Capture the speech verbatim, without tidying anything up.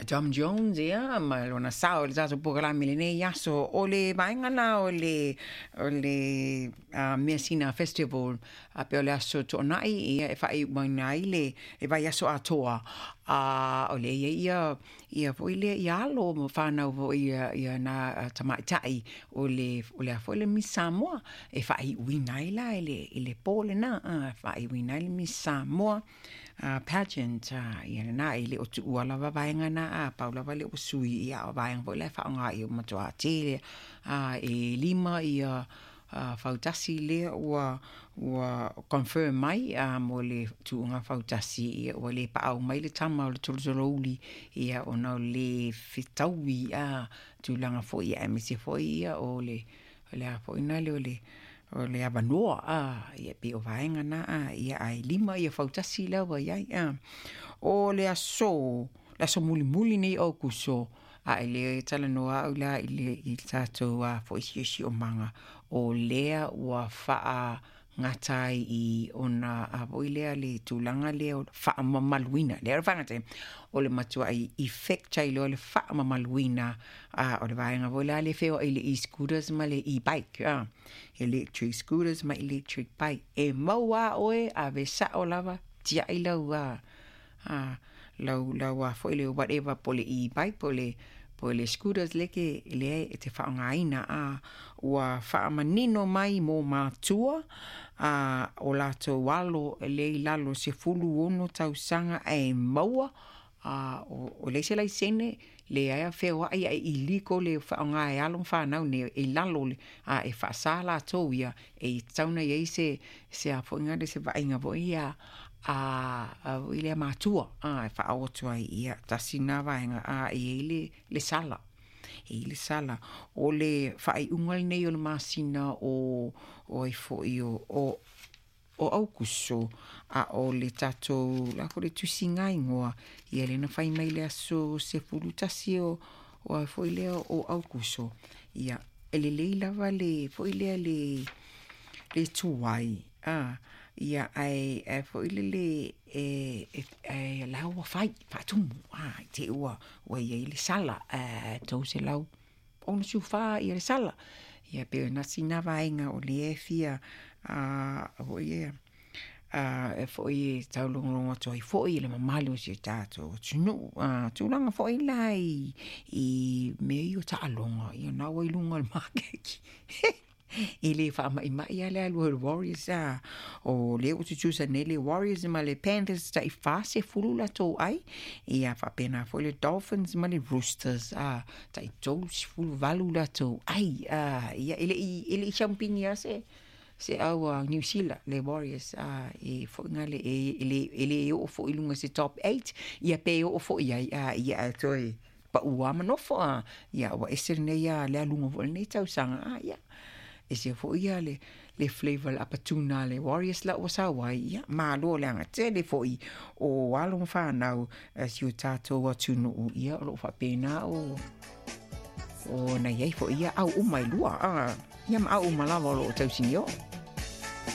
Tom Jones ia ma lona sao i le tatou polokalame i lenei aso. O le vaega la o le o le uh, Measina Festival a pe o le aso Toonai ia e faaiuina ai le le vaiaso atoa a o le ia ia ia foi lea ia alo ma whanau foi ia ia na tamaitai o le o le foi le Miss Samoa e faaiuina ai la i le i le po lena a faaiuina ai le Miss Samoa uh, pageant uh, ia lena e le o tuua lava vaega na a pau lava le o sui ia o vaega foi la e faaaoga ia matuā tele a e lima ia uh, fautasi lea ua ua confirm mai a mo le tuuga fautasi ia ua le paau mai le tama o le tolotolouli ia ona o le fetaui a tulaga foi ia aemaise foi ia o le o le a foi na le o le o le avanoa a ia pe o vaega na a ia ae lima ia fautasi lea ua iai a o le aso le aso mulimuli nei o Kuso a e le talanoa au la i le i le tatou a foi siosiomaga o lea ua faa gata ai i ona a foi lea le tulaga lea o faamamaluina lea o le faagata o le matuai effect ai loa le faamamaluina a o le vaega foi la le feoai le e-scooters ma le e-bike a electric scooters ma electric bike e maua oe ave sao lava tiai lau a a lau lau a foi le whatever po le e-bike po le po le scooters le ke lea e te faaaogaina a ua faamanino mai mo matua a o latou alo le i lalo sefulu ono tausaga ae maua a o, o leai se laisene leai a feoai ae illegal le faaaoga e alo ma fanau nei e lalo le a e faasa latou ia e tatau ona iai se se a foi le se vaaiga foi ia a a foi lea matua a e faaoo atu ai ia tasi na vaega a e iai le le sala e i le sala o le faaiuga lenei o le masina o o ai foi o o o Aukuso a o le tatou la foi le tusiga igoa ia lea na fai mai le aso sefulu tasi o o ai foi lea o Aukuso ia e lelei lava le foi lea le le tuai a ia ae ae foi lele e e e la ua fai faatumu a i te ua ua iai le sala a tou selau ono siufa ia le sala ia pe na sina vaega o lea e fia a foi ia a e foi e taulogologo atu ai foi i le mamalu o si o tatou atunuu a tulaga foi la i i mea ia o taaloga ia na ua i luga o le maketi e le faamaimai a le alu o le Warriors a o lea ua tutusa nei le Warriors ma le Panthers tai fa sefulu latou ai ia faapena foi le Dolphins ma le Roosters a tai tolu sefulu valu latou ai a ia e le i e le i siamupini a se se au a New Zealand le Warriors a e foi ngale e e le e le oo foi i luga se top eight ia pe oo foi ai a ia ae toe paua ma nofo a ia ua ese lenei a le aluga foi lenei tausaga a ia ese foi ia le le flavour le apatuna le Warriors la ua sau ai ia malo le agatele foi o alo ma fanau si o tatou atunuu ia o loo faapena o o na iai foi ia au uma e lua a ia ma au uma lava o loo tausinio.